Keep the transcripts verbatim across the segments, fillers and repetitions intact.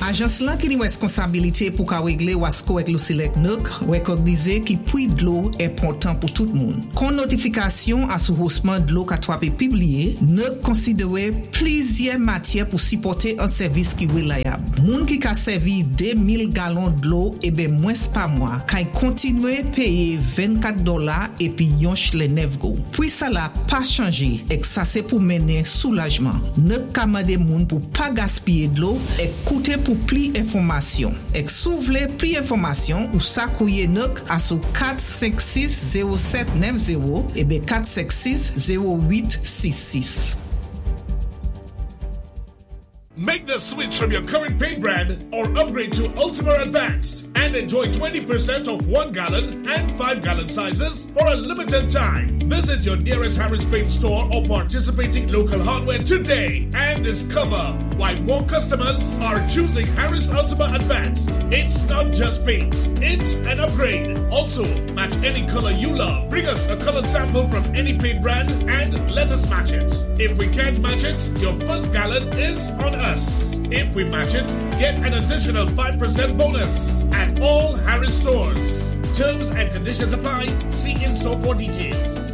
Ajans lan ki ni wèskonsabilité pou ka wéglé Wasco èk Lucelec N E C wékògnizé ki pwi dlo enpòtan pou tout moun. Kon notifikasyon asou hosman dlo ka twapé pibliyé, N E C konsidéwé plizyè matyè pou sipòté an sèvis ki wélayab. Moun ki ka sèvi de mil galon dlo ébé mwens pa mwa, kay kontinwé péyé vennkat dola épi yon chlè nèf goud. Pwi sa la pa chanjé, èk sa sé pou mennen soulajman. N E C ka mandé moun pou pa gaspiyé dlo èk kouté pou pli enfòmasyon. Èk si ou vlé pli enfòmasyon ou sa kouwiyé N E C asou kat senk sis zewo sèt nèf zewo ébé kat senk sis zewo uit sis sis. Make the switch from your current paint brand or upgrade to Ultima Advanced and enjoy twenty percent off one gallon and five gallon sizes for a limited time. Visit your nearest Harris Paint store or participating local hardware today and discover why more customers are choosing Harris Ultima Advanced. It's not just paint, it's an upgrade. Also, match any color you love. Bring us a color sample from any paint brand and let us match it. If we can't match it, your first gallon is on us. If we match it, get an additional five percent bonus at all Harris stores. Terms and conditions apply. See in store for details.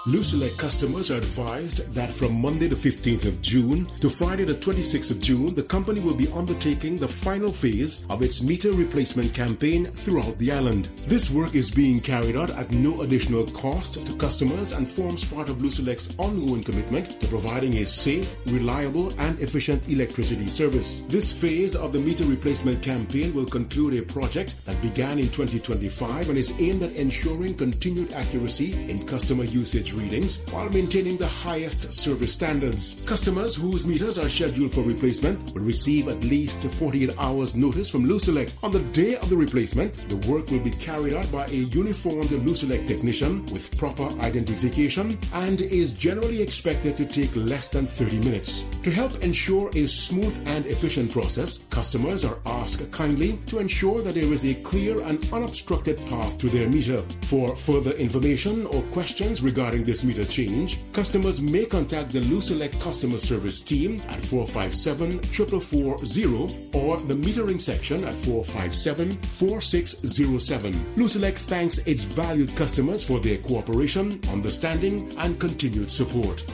Lucelec customers are advised that from Monday the fifteenth of June to Friday the twenty-sixth of June, the company will be undertaking the final phase of its meter replacement campaign throughout the island. This work is being carried out at no additional cost to customers and forms part of Lucelec's ongoing commitment to providing a safe, reliable, and efficient electricity service. This phase of the meter replacement campaign will conclude a project that began in twenty twenty-five and is aimed at ensuring continued accuracy in customer usage readings while maintaining the highest service standards. Customers whose meters are scheduled for replacement will receive at least forty-eight hours notice from Lucelec. On the day of the replacement, the work will be carried out by a uniformed Lucelec technician with proper identification and is generally expected to take less than thirty minutes. To help ensure a smooth and efficient process, customers are asked kindly to ensure that there is a clear and unobstructed path to their meter. For further information or questions regarding this meter change, customers may contact the Lucelec customer service team at four five seven four four four zero or the metering section at four five seven four six zero seven. Lucelec thanks its valued customers for their cooperation, understanding, and continued support.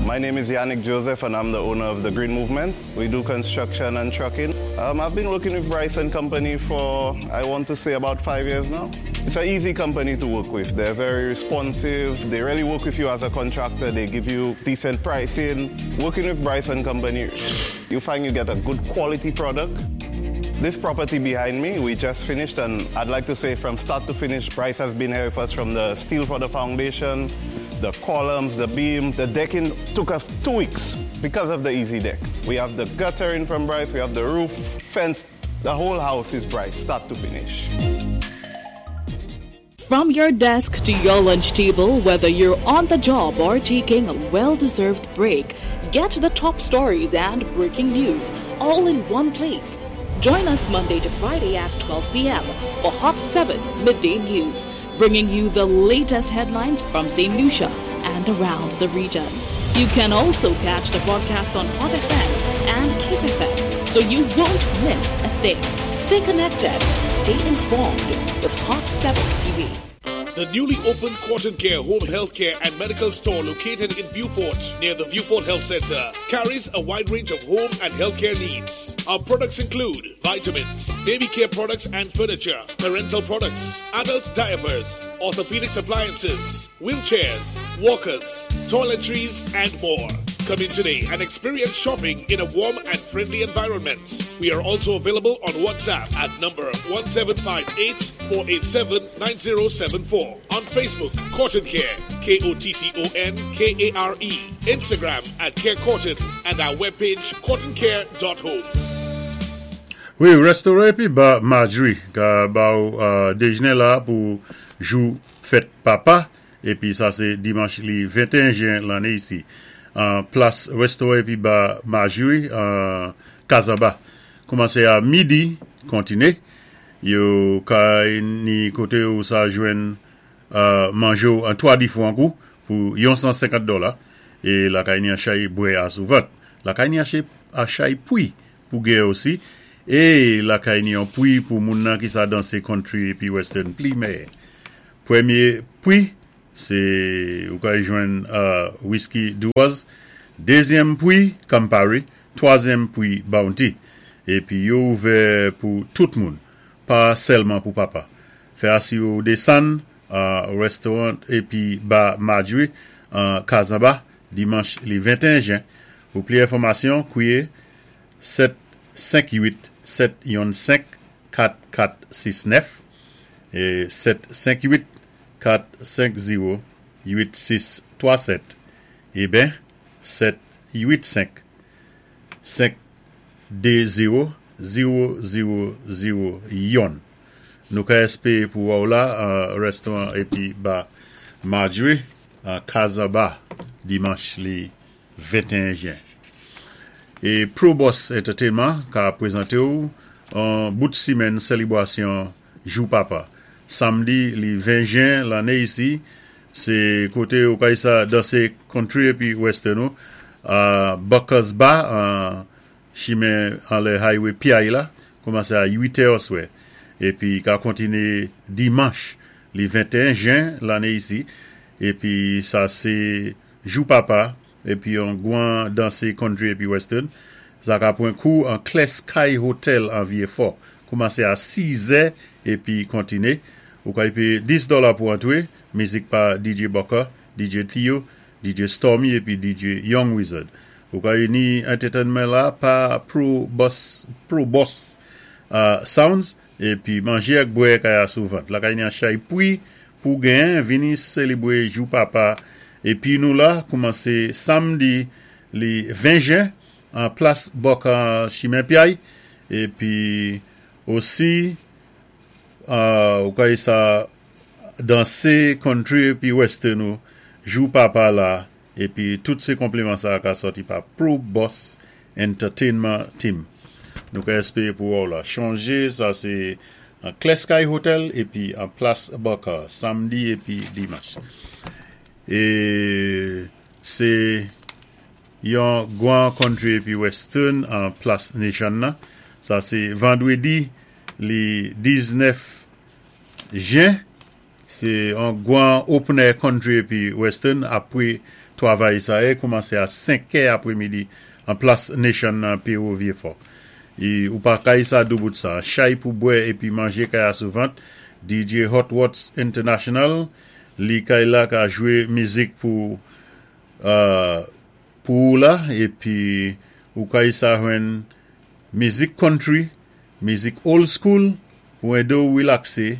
My name is Yannick Joseph and I'm the owner of the Green Movement. We do construction and trucking. Um, I've been working with Bryce and Company for, I want to say, about five years now. It's an easy company to work with. They're very responsive. They really work with you as a contractor. They give you decent pricing. Working with Bryce and Company, you find you get a good quality product. This property behind me, we just finished, and I'd like to say from start to finish, Bryce has been here with us from the steel for the foundation, the columns, the beam, the decking took us two weeks because of the easy deck. We have the guttering from Bryce, we have the roof, fence, the whole house is Bryce, start to finish. From your desk to your lunch table, whether you're on the job or taking a well deserved break, get the top stories and breaking news all in one place. Join us Monday to Friday at twelve p m for Hot seven Midday News, bringing you the latest headlines from Saint Lucia and around the region. You can also catch the broadcast on Hot F M and Kiss F M, so you won't miss a thing. Stay connected, stay informed with Hot seven T V. The newly opened Cotton Care Home Healthcare and Medical Store, located in Vieux Fort near the Vieux Fort Health Center, carries a wide range of home and healthcare needs. Our products include vitamins, baby care products and furniture, parental products, adult diapers, orthopedic appliances, wheelchairs, walkers, toiletries, and more. Come in today and experience shopping in a warm and friendly environment. We are also available on WhatsApp at number one seven five eight four eight seven nine zero seven four. On Facebook, Cotton Care, K O T T O N K A R E. Instagram at Care Cotton and our webpage cottoncare dot home. Wi, restoran épi ba Marjorie ka ba ou euh, déjné la pou jou fèt papa épi sa sé dimanch li venteyen jen lanné isi. An plas restoran épi ba Marjorie an Kazamba. Koumansé a midi, kontiné. Yo kay ni koté ou sa jwenn euh, manjé an twa difwan kou pou yon san senkant dola. É la kay ni an chay bwè asou vant. La kay ni an chay pwi pou genyen osi. É la kay ni an pwi pou moun nan ki sa dansé country épi western pli mèyè. Pwémyé pwi, sé ou kay jwenn whisky Dewar's. Dézyèm pwi, Campari. Twazyèm pwi, Bounty. Épi yo ouvè pou tout moun, pa sèlman pou papa. Fè asi ou désann restoran épi ba Marjorie Kazamba, dimanch li venteyen jen. Pou pli enfòmasyon, kwié sèt senk uit sèt youn senk kat kat sis nèf é sèt senk uit kat senk zewo uit sis twa sèt é ben sèt uit senk senk de zewo zewo zewo zewo youn. Nou ka èspéwé pou wè ou la restoran épi ba Marjorie Kazamba dimanch li venteyen jen. É Pro Boss Entertainment ka pwézanté ou an bout simenn sélébwasyon Jou Papa. Samdi li ven jen lanné isi, sé koté ou kay sa dansé country épi western ou, Buckers Bar, chimen anlè highway Piaye la, koumansé a uit è oswè. Épi ka kontiné dimanch li venteyen jen lanné isi, épi sa sé Jou Papa, épi yon gwan dansé country épi western. Sa ka pwan kou an Kles Kay Hotel an Vieux-Fort. Koumansé a sis è épi kontiné. Ou kay péyé dis dola pou antwé, mizik pa D J Bucker, D J Theo, D J Stormy épi D J Young Wizard. Ou kay ni entertainment la pa Pro Boss, Pro Boss uh, Sounds, épi manjé ak bwè kay asou vant. La kay ni an chay pwi pou gen, vini sélébwé Jou Papa. Épi nou la, koumansé samdi li ven jen, an plas Bucker Chimen Piay, épi osi, uh, ou kay sa dansé country épi western ou, Jou Papa la, épi tout sé konpliman sa ka sòti pa Pro Boss Entertainment Team. Nou ka èspéwé pou wè ou la. Chonjé, sa sé an Kles Kay Hotel épi an plas Bucker, samdi épi dimanch. É sé yon gwan country épi western an plas Nation nan. Sa sé vandwédi li diznèf jen. Sé an gwan open air country épi western apwé twavay sa é koumansé a senk è apwémidi an plas Nation nan P O Vieux-Fort. É ou pa kay sa doubout sa. Chay pou bwè épi manjé kay asou vant. D J Hot Watts International li kay la ka jwé mizik pou uh, pou ou la épi ou kay sa jwenn mizik country, mizik old school pou édé ou relaksé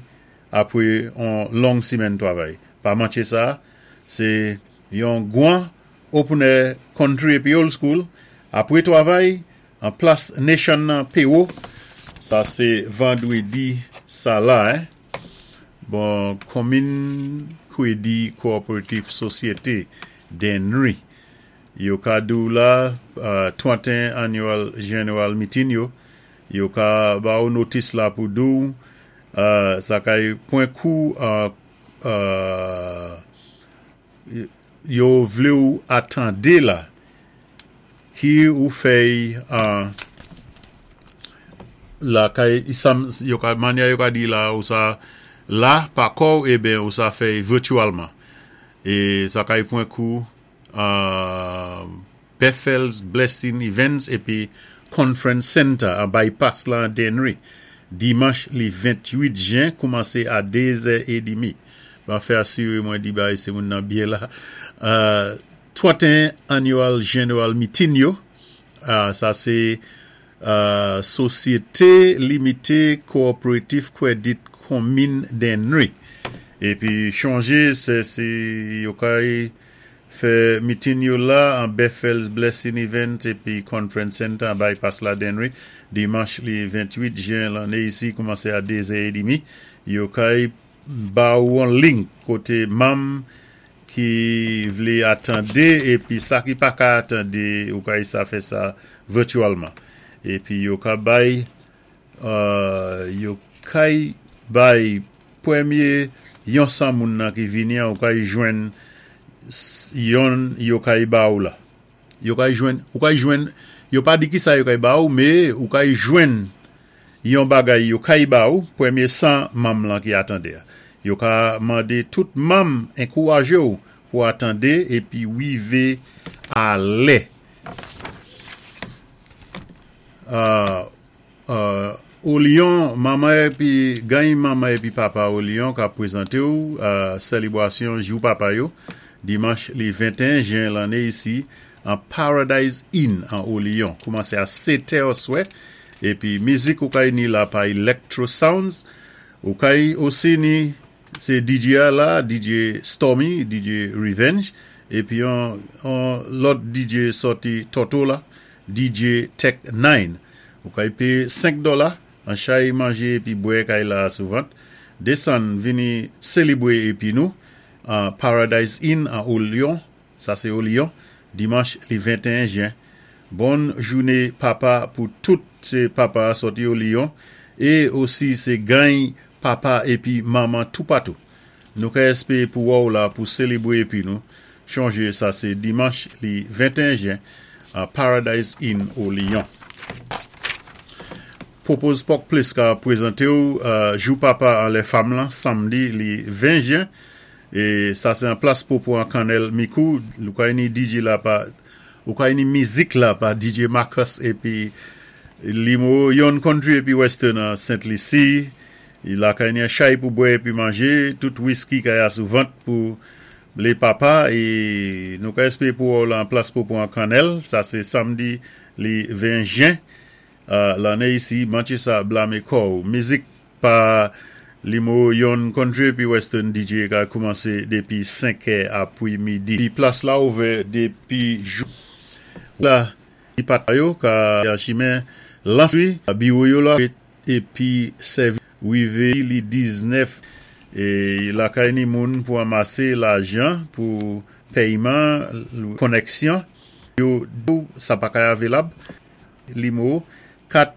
apwé an long simenn twavay. Pa manké sa, sé yon gwan open air country épi old school apwé twavay an plas Nation nan P O. Sa sé vandwédi sa la, hein. Bon, Komin Kwédi Cooperative Société Dennery. Yo ka dou la uh, tranteyen Annual General Meeting yo. Yo ka ba ou notis la pou dou. Uh, sa kay pwan kou uh, uh, yo vlé ou atandé la ki ou fèy uh, la kay isam, yo ka manya yo ka di la ou sa la pa kou é ben ou sa fèy virtualman. É sa kay pwan kou uh, Bethel's Blessing Events épi Conference Center an bypass la an Dennery. Dimanch li ventwit jen koumansé a dé zè édmi. Ba fè asiré mwen di bay sé moun nan byen la. Uh, tranteyen Annual General Meeting yo. Uh, sa sé uh, Société Limitée Coopérative Credit Commune Dennery. Épi chonjé, sé, sé yo kay fè meeting yo la an Bethel's Blessing Event épi Conference Center an bypass la Dennery. Dimanch li ventwit jen lanné isi koumansé a dé zè édmi. Yo kay ba ou an link koté manm ki vlé atandé épi sa ki pa ka atandé ou kay sa fè sa virtualman. Épi yo ka bay uh, yo kay bay pwémyé yon san moun nan ki vini an ou kay jwenn Yon yo kay ba ou la. Yo kay jwenn, ou kay jwenn, yo pa di ki sa yo kay ba ou, mé ou kay jwenn yon bagay yo kay ba ou, pwémyé san manm lan ki atandé. Yo ka mandé tout manm ankourajé ou pou atandé épi wivé a lè. Euh, euh, Au Lion, manman épi gany manman épi papa Au Lion ka pwézanté ou euh, sélibwasyon jou papa yo dimanch li venteyen jen lanné isi an Paradise Inn an Au Lion. Koumansé a sèt è oswè épi mizik ou kay ni la pa Electro Sounds, ou kay osi ni sé D J a la, D J Stormy, D J Revenge épi yon, yon lòt D J sòti Toto la, D J Tech nine. Ou kay péyé senk dola, an chay manjé épi bwè kay la souvant. Désann vini sélibwé épi nou an Paradise Inn an Au Lion, sa sé Au Lion, dimanch li venteyen jen. Bon jouné papa pou tout sé papa sòti Au Lion é osi sé gany papa épi manman toupatou. Nou ka èspéwé pou wè ou la pou sélibwé épi nou. Chonjé sa sé dimanch li venteyen jen an Paradise Inn Au Lion. Popo's Pork Place ka pwézanté ou uh, jou papa an lè fanm lan, samdi li ven jen. É sa sé an plas Popo an Kannèl Mikou. Ou kay ni D J la pa, ou kay ni mizik la pa D J Marcus épi limo yon country épi western an Saint Lucie. La kay ni an chay pou bwè épi manjé, tout whisky kay a sou vant pou lé papa é nou ka èspéwé pou ou la an plas Popo an Kannèl. Sa sé samdi li ven jen. Uh, lanné isi, mantché sa blamé kò. Mizik pa limo yon country pi western D J ka koumansé dépi senk è apwi midi. Pi plas la ouvè dépi jou la pat yo ka an chimen lanswi biwo yo la épi sèvi wivé li diznèf é la kay ni moun pou anmasé lajan pou péyman koneksyon yo sa pa kay avelab limo kat.